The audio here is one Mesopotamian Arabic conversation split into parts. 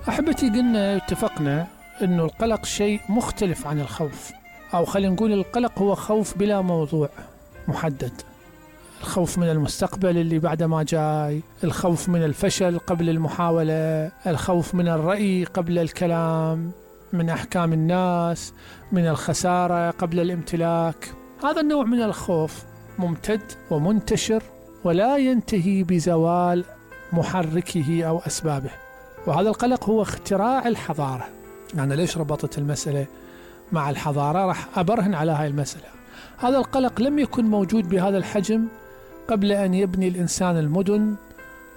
أحبتي، قلنا اتفقنا أنه القلق شيء مختلف عن الخوف، أو خلينا نقول القلق هو خوف بلا موضوع محدد. الخوف من المستقبل اللي بعد ما جاي، الخوف من الفشل قبل المحاولة، الخوف من الرأي قبل الكلام، من أحكام الناس، من الخسارة قبل الامتلاك. هذا النوع من الخوف ممتد ومنتشر ولا ينتهي بزوال محركه أو أسبابه. وهذا القلق هو اختراع الحضارة. يعني ليش ربطت المسألة مع الحضارة؟ راح أبرهن على هاي المسألة. هذا القلق لم يكن موجود بهذا الحجم قبل أن يبني الإنسان المدن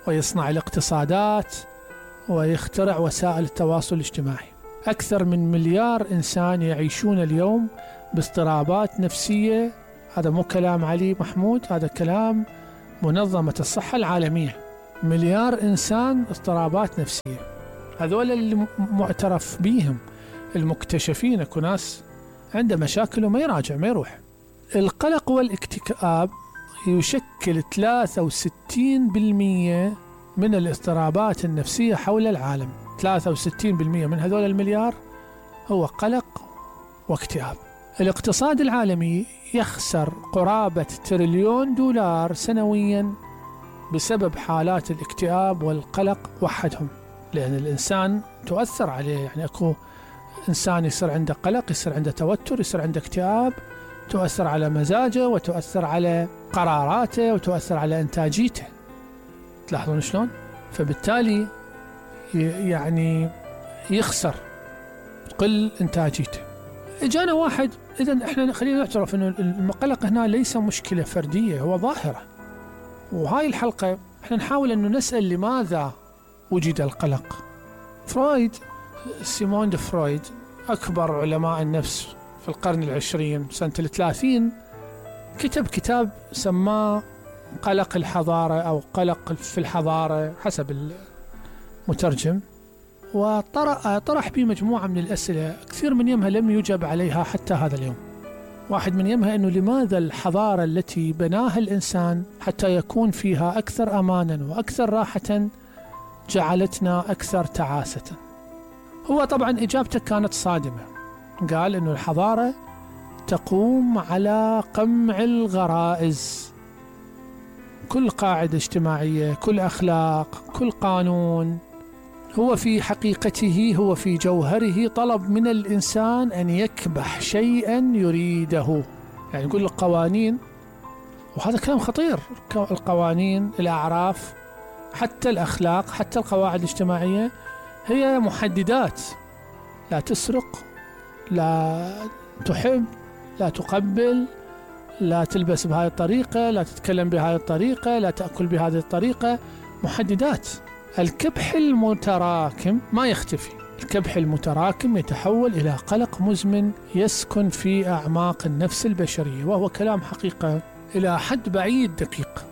ويصنع الاقتصادات ويخترع وسائل التواصل الاجتماعي. أكثر من مليار إنسان يعيشون اليوم باضطرابات نفسية. هذا مو كلام علي محمود، هذا كلام منظمة الصحة العالمية. مليار إنسان اضطرابات نفسية. هذول اللي معترف بيهم، المكتشفين. اكو ناس عنده مشاكل وما يراجع، ما يروح. القلق والاكتئاب يشكل 63% من الاضطرابات النفسية حول العالم. 63% من هذول المليار هو قلق واكتئاب. الاقتصاد العالمي يخسر قرابة $1 تريليون سنويا بسبب حالات الاكتئاب والقلق وحدهم، لأن الإنسان تؤثر عليه. يعني أكو إنسان يصير عنده قلق، يصير عنده توتر، يصير عنده اكتئاب، تؤثر على مزاجه وتؤثر على قراراته وتؤثر على إنتاجيته. تلاحظون شلون؟ فبالتالي يعني يخسر، تقل إنتاجيته. إجانا واحد، إذن إحنا خلينا نعترف أنه القلق هنا ليس مشكلة فردية، هو ظاهرة. وهاي الحلقة إحنا نحاول أنه نسأل لماذا وجد القلق. فرويد، سيمون دي فرويد، أكبر علماء النفس في القرن العشرين سنة 30، كتب كتاب سماه قلق الحضارة أو قلق في الحضارة حسب المترجم، وطرح به مجموعة من الأسئلة كثير من يمها لم يجب عليها حتى هذا اليوم. واحد من يمها أنه لماذا الحضارة التي بناها الإنسان حتى يكون فيها أكثر أمانا وأكثر راحة جعلتنا أكثر تعاسة؟ هو طبعا إجابته كانت صادمة. قال أنه الحضارة تقوم على قمع الغرائز. كل قاعدة اجتماعية، كل أخلاق، كل قانون هو في حقيقته، هو في جوهره طلب من الإنسان أن يكبح شيئا يريده. يعني يقول القوانين، وهذا كلام خطير، القوانين، الأعراف، حتى الأخلاق، حتى القواعد الاجتماعية هي محددات. لا تسرق، لا تحب، لا تقبل، لا تلبس بهذه الطريقة، لا تتكلم بهذه الطريقة، لا تأكل بهذه الطريقة. محددات. الكبح المتراكم ما يختفي. الكبح المتراكم يتحول إلى قلق مزمن يسكن في أعماق النفس البشرية، وهو كلام حقيقة إلى حد بعيد دقيق.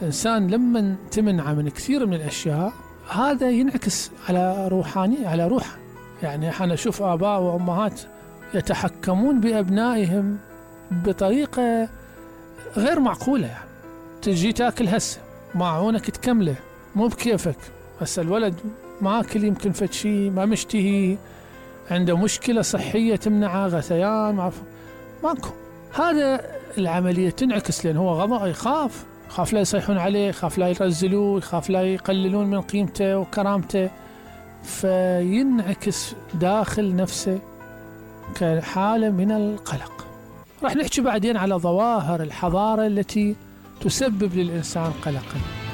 الإنسان لما تمنع من كثير من الأشياء، هذا ينعكس على روحانية، على روحه. يعني أنا أشوف آباء وأمهات يتحكمون بأبنائهم بطريقة غير معقولة. يعني تجي تاكل هسه، معونك تكمله، مو بكيفك. بس الولد ما أكل، يمكن فد شيء ما مشتهي، عنده مشكلة صحية تمنعه، غثيان، ماكو. هذا العملية تنعكس، لأن هو غضب، يخاف لا يصيحون عليه، يخاف لا يرزلوه، يخاف لا يقللون من قيمته وكرامته، فينعكس داخل نفسه كحالة من القلق. راح نحكي بعدين على ظواهر الحضارة التي تسبب للإنسان قلقا.